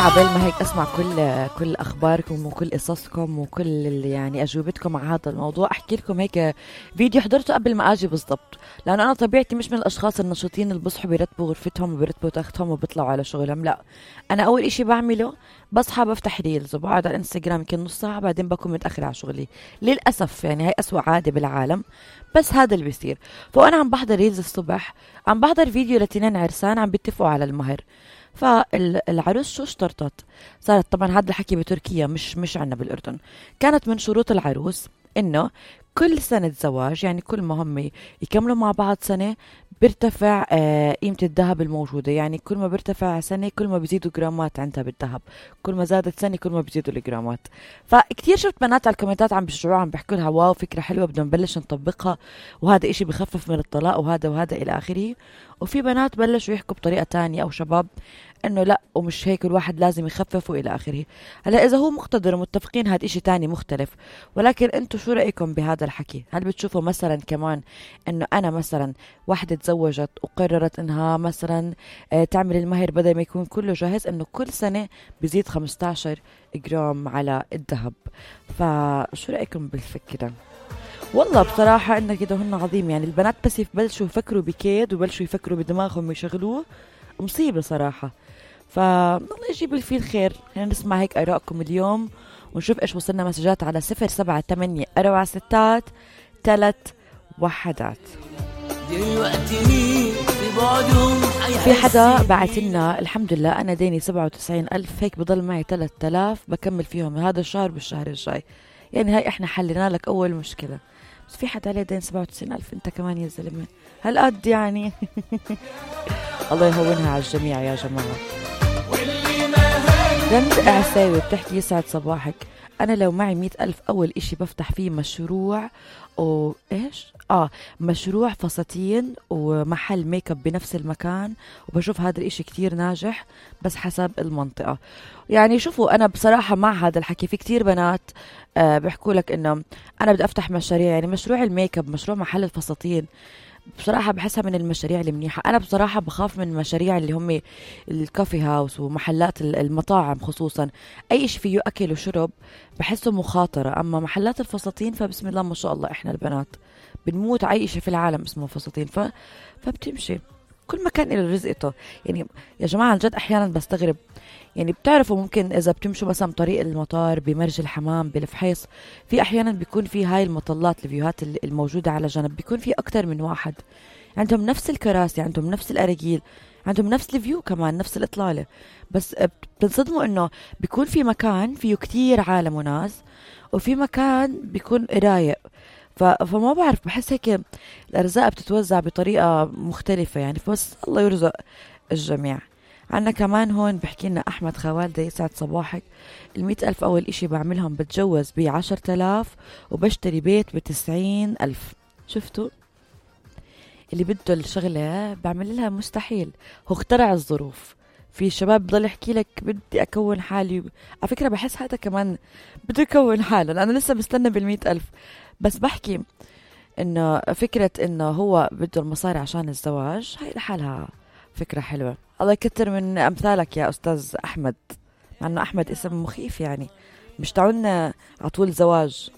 عبال ما هيك اسمع كل اخباركم وكل قصصكم وكل يعني اجوبتكم على هذا الموضوع، احكي لكم هيك فيديو حضرته قبل ما اجي بالضبط، لانه انا طبيعتي مش من الاشخاص النشيطين اللي بصحوا بيرتبوا غرفتهم وبيرتبوا تختهم وبيطلعوا على شغلهم. لا، انا اول اشي بعمله بصحى بفتح ريلز وبقعد على الانستغرام يمكن نص ساعه، بعدين بكون متاخر على شغلي للاسف. يعني هاي اسوأ عاده بالعالم، بس هذا اللي بيصير. فانا عم بحضر ريلز الصبح، عم بحضر فيديو لتنين عرسان عم بيتفقوا على المهر. فالعروس شو اشترطت؟ صارت طبعا هذا الحكي بتركيا، مش عنا بالاردن. كانت من شروط العروس انه كل سنة زواج، يعني كل ما هم يكملوا مع بعض سنة بيرتفع قيمة الذهب الموجودة. يعني كل ما بيرتفع سنة كل ما بيزيدوا جرامات عندها بالذهب، كل ما زادت سنة كل ما بيزيدوا الجرامات. فكتير شفت بنات على الكومنتات عم بيشجعوها، عم بيحكوا لها واو فكرة حلوة بدنا نبلش نطبقها، وهذا اشي بخفف من الطلاق وهذا الى اخره. وفي بنات بلشوا يحكوا بطريقة تانية او شباب انه لا ومش هيك، الواحد لازم يخفف والى اخره. هلا اذا هو مقتدر ومتفقين هذا اشي تاني مختلف، ولكن انتو شو رأيكم بهذا الحكي؟ هل بتشوفوا مثلا كمان انه انا مثلا واحدة تزوجت وقررت انها مثلا تعمل المهر بدل ما يكون كله جاهز، انه كل سنة بيزيد 15 جرام على الذهب؟ فشو رأيكم بالفكرة؟ والله بصراحة إنه كده هن عظيم. يعني البنات بس يبلشوا يفكروا بكيد ويبلشوا يفكروا بدماغهم ويشغلوه، مصيبة صراحة. فالله يجيب اللي فيه الخير. خلينا نسمع هيك آرائكم اليوم ونشوف إيش وصلنا مسجات على 078-463-3 في حدا بعت لنا الحمد لله أنا ديني 97,000 هيك بضل معي 3000 بكمل فيهم هذا الشهر بالشهر الجاي. يعني هاي إحنا حلينا لك أول مشكلة. بس في حدا عليه دين 97,000 انت كمان يا زلمة هالقد يعني. الله يهونها على الجميع يا جماعة. رند عساوي بتحكي يسعد صباحك، أنا لو معي 100,000 أول إشي بفتح فيه مشروع مشروع فساتين ومحل ميك اب بنفس المكان، وبشوف هذا الاشي كتير ناجح بس حسب المنطقة. يعني شوفوا انا بصراحة مع هذا الحكي. في كتير بنات بيحكوا لك انه انا بدي افتح مشاريع، يعني مشروع الميك اب، مشروع محل الفساتين، بصراحة بحسها من المشاريع المنيحة. أنا بصراحة بخاف من المشاريع اللي هم الكافي هاوس ومحلات المطاعم، خصوصا أي شيء فيه أكل وشرب بحسه مخاطرة. أما محلات الفساتين فبسم الله ما شاء الله إحنا البنات بنموت على أي شيء في العالم اسمه فساتين، فبتمشي كل مكان إلى رزقته. يعني يا جماعة الجد أحيانا بستغرب، يعني بتعرفوا ممكن إذا بتمشوا مثلا طريق المطار بمرج الحمام بالفحيص، في أحيانا بيكون في هاي المطلات الفيوهات الموجودة على جنب، بيكون في أكتر من واحد عندهم نفس الكراسي، عندهم نفس الأراجيل، عندهم نفس الفيو كمان، نفس الإطلالة. بس بتنصدموا إنه بيكون في مكان فيه كتير عالم وناس، وفي مكان بيكون رايق. فما بعرف، بحس هيك الأرزاق بتتوزع بطريقة مختلفة يعني. فبس الله يرزق الجميع. عنا كمان هون بحكي لنا أحمد خوالدة يسعد صباحك، 100,000 أول إشي بعملهم بتجوز ب10,000 وبشتري بيت ب90,000. شفتوا اللي بده الشغلة بعمل لها مستحيل، هو اخترع الظروف. في شباب بضل يحكي لك بدي أكون حالي، على فكرة بحس هذا كمان بده يكون حاله، لأنه لسه بستنى بال100,000. بس بحكي إنه فكرة إنه هو بده المصاري عشان الزواج هاي لحالها فكرة حلوة. الله يكتر من أمثالك يا أستاذ أحمد، مع أنه أحمد اسم مخيف يعني، مش تعون على طول زواج.